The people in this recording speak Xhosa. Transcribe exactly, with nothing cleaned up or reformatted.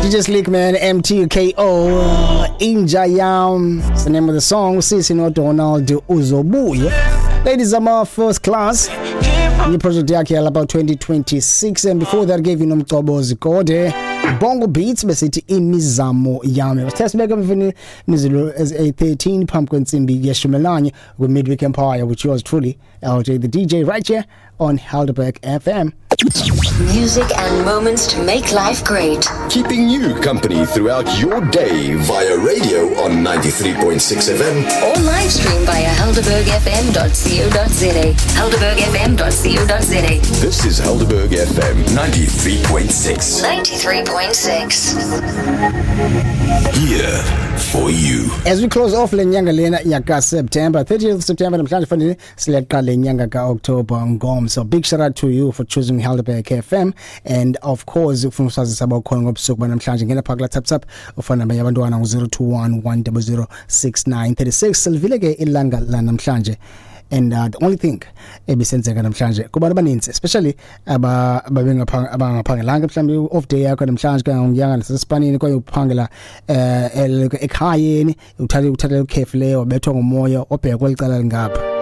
D J Slick Man, M T K O, Inja Yam. It's the name of the song. Sisi no Donald Uzobuye. Ladies, I'm first class. New project yakhe yalapha twenty twenty-six, and before that gave you Nomcobo Zikode, Bongo Beats, besithi Imizamo Yami. Sithe sibeka mfini imizilo as a thirteen phambi kwentsimbi yeshumi nanye with Midweek Empire with yours truly, L J the D J, right here on Helderberg F M. Music and moments to make life great. Keeping you company throughout your day via radio on ninety-three point six F M. Or live stream via helderberg F M dot co dot za. helderberg F M dot co dot za. This is Helderberg F M ninety-three point six. ninety-three point six. Here for you. As we close off le nyanga lena yaka September, thirtieth of September namhlanje, fanele sileqa le nyanga ka October ngomso. Big shout out to you for choosing Helderberg F M, and of course ufuna usazisa abakhona ngobusuku banamhlanje, ngena phaka la tap tap ufana nabanye abantwana ngu zero two one one zero zero six nine three six. Silivile ke ilanga la namhlanje, and uh, the only thing ebisenzeka namhlanje kubantu abaninzi, especially aba ababengapha abangaphangelanga mhlawumbe off day yakho namhlanje kangiyanga nasesipanini kwaye uphangela eh ekhayeni, uthathe uthathe ukhefu leyo, wabethwa ngumoya obheka kwelicala lingapha.